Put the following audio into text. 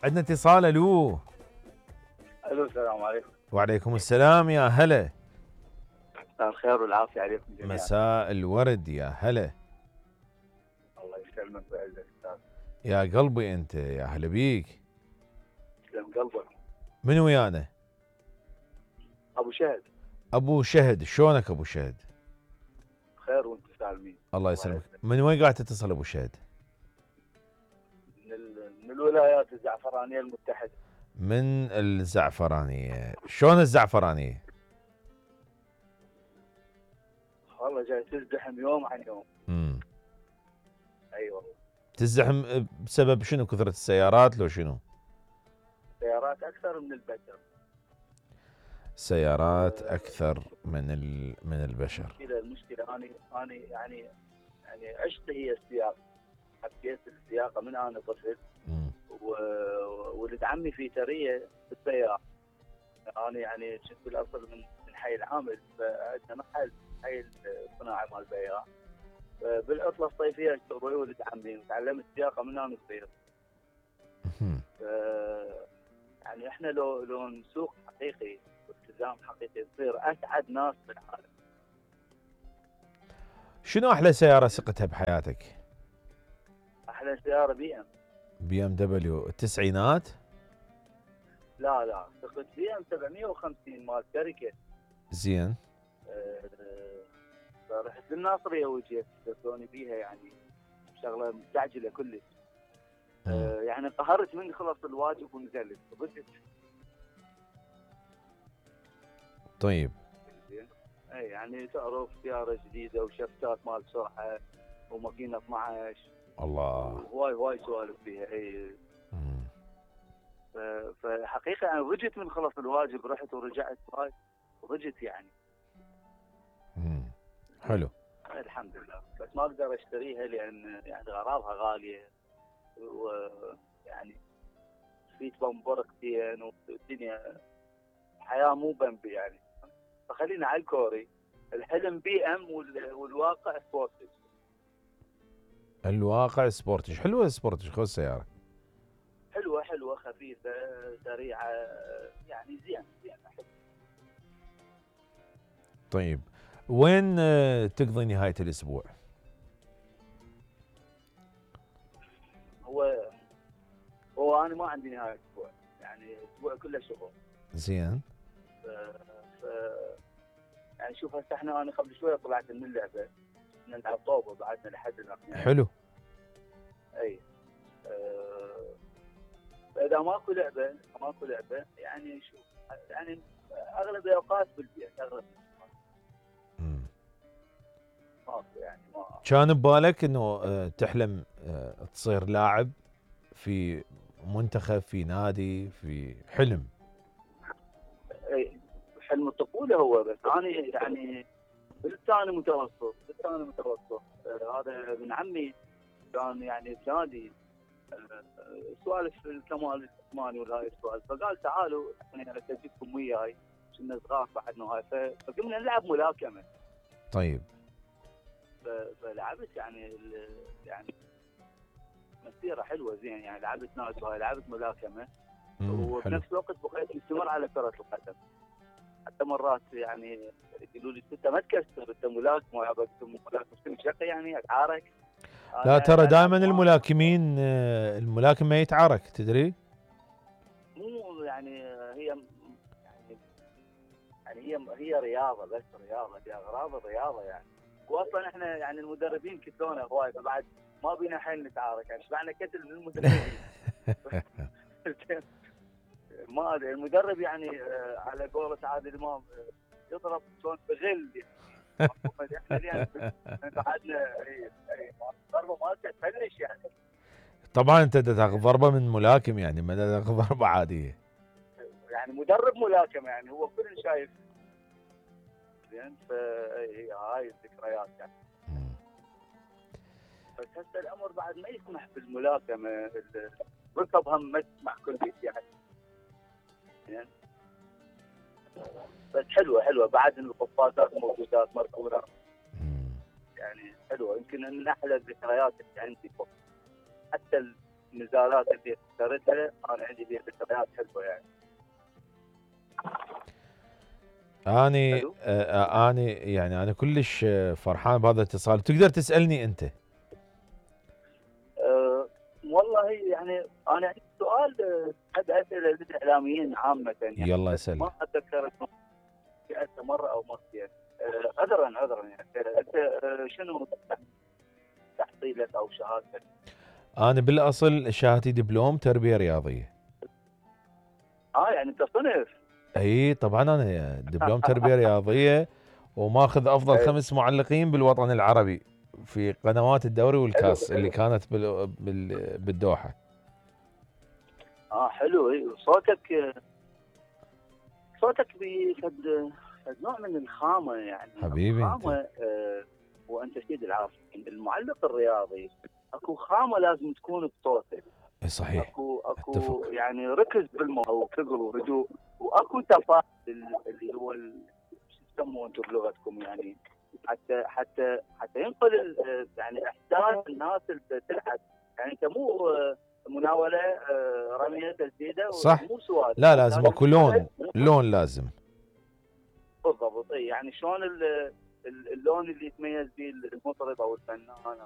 عندنا اتصال. الو. الو السلام عليكم. وعليكم السلام يا هلا. مساء الخير والعافيه عليكم جميعا. مساء الورد يا هلا. الله يسلمك ويعزك استاذ. يا قلبي انت، يا هلا بيك. يسلم قلبك. من ويانا؟ ابو شهد. ابو شهد، شلونك ابو شهد؟ بخير وانت سالمين. الله يسلمك. من وين قاعد تتصل ابو شهد؟ من الولايات الزعفرانيه المتحده. من الزعفرانيه. شلون الزعفرانيه؟ والله جاي تزدحم يوم عن يوم. اي والله. تزدحم بسبب شنو؟ كثرة السيارات لو شنو؟ سيارات اكثر من البشر. سيارات اكثر من البشر. المشكله انا يعني عشت هي السياقه. حبيت السياقه من انا طفل. ولد عمي في تريه بالسياره. انا يعني كنت بالاصل من حي العامل، فعندنا محل حي الصناعي مال بياع. بالعطله الصيفيه اشتغل ويا ولد عمي وتعلمت السياقه من انا صغير. يعني احنا لو نسوق حقيقي والتزام حقيقي نصير اسعد ناس بالعالم. شنو احلى سياره سقتها بحياتك؟ احلى سياره بي ام دبليو التسعينات؟ لا سقت بي ام 750 مال شركه. زين. فرحت للناصريه وجيت استخدموني بيها، يعني شغله مستعجله كلش. يعني قهرت من خلص الواجب ونزلت ضدت. طيب. اي يعني تعرف سياره جديده وشفتات مال سرعه وماكينه 12. الله. هواي سوالف فيها. اي. فحقيقه انا رجت من خلص الواجب، رحت ورجعت هاي ورجت يعني. حلو. الحمد لله، بس ما اقدر اشتريها لان يعني غراضها غاليه، ويعني في بمبركتين والدنيا حياه مو بنبي يعني. فخلينا على الكوري. الحلم بي ام والواقع سبورتج. الواقع سبورتج. حلوه السبورتج، خذ السياره. حلوه خفيفه سريعه يعني زين حلو. طيب وين تقضي نهايه الاسبوع؟ هو انا ما عندي نهايه اسبوع، يعني اسبوع كله شغل. زين. يعني شوف هسه انا قبل شويه طلعت من اللعبه، نلعب طوبه بعدنا لحد الان يعني. حلو. اي. فاذا ماكو لعبه يعني شوف يعني اغلب الاوقات بالبيت اغلب. يعني ما كان ببالك انه تحلم تصير لاعب في منتخب، في نادي، في حلم؟ اي حلم الطفوله هو، بس انا يعني بالثاني متوسط. هذا ابن عمي كان يعني بنادي سوالف الكمال الجسماني وهاي السوالف، فقال تعالوا يعني اسجلكم وياي، كنا صغار بعدنا هاي، فقمنا نلعب ملاكمه. طيب. فلعبت يعني مسيره حلوه زين، يعني لعبت ناس وهاي، لعبت ملاكمه وبنفس الوقت بقيت مستمر على كره القدم. حتى مرات يعني يقولوا لي انت ما تكسر، انت ملاكم شقي يعني اتعارك. لا ترى دائما الملاكم ما يتعارك، تدري؟ مو يعني هي رياضه، بس رياضه فيها اغراض الرياضه يعني. واصلا احنا يعني المدربين كتلونا هواي، فبعد ما بينا حيل نتعارك، يعني شبعنا كتل من المدربين. ما ادري المدرب يعني على قولة عادل امام يضرب شلون بغل يعني. احنا بعدنا ضربه مالته تفلش يعني. طبعا انت تاخذ ضربه من ملاكم، يعني ما تاخذ ضربه عاديه. يعني مدرب ملاكمه يعني هو كل شايف زين. هاي الذكريات يعني. بس هسه الامر بعد ما يسمح بالملاكمه، ركب هم ما تسمح كل شيء يعني. زين. بس حلوه بعد القفازات موجودات مركونه يعني حلوه. يمكن من احلى الذكريات اللي عندي، حتى النزالات اللي اخترتها انا عندي فيها ذكريات حلوه يعني. اني يعني انا كلش فرحان بهذا الاتصال. تقدر تسالني انت؟ والله يعني انا عندي سؤال، احب اساله للاعلاميين عامه يعني. يلا اسال. ما اتذكر سالته مره او مرتين. عذرا يعني. انت شنو تحصيلك او شهادتك؟ انا بالاصل شهادتي دبلوم تربيه رياضيه. يعني انت صنف. اي طبعا انا دبلوم تربيه رياضيه، وماخذ افضل 5 معلقين بالوطن العربي في قنوات الدوري والكاس اللي كانت بالدوحه. حلو. صوتك بفد نوع من الخامه يعني. حبيبي خامه. وانت سيد العافيه، المعلق الرياضي اكو خامه لازم تكون بصوتك. صحيح. اكو اتفق. يعني ركز بالموضوع وثقل وهدوء، واكو تفاعل اللي هو شو تسموه انتم بلغتكم يعني، حتى ينقل يعني احساس الناس اللي تلعب. يعني انت مو مناوله رميه تسديده صح. مو سؤال. لا لازم اكو لون لازم. بالضبط. يعني شلون اللون اللي يتميز به المطرب او الفنان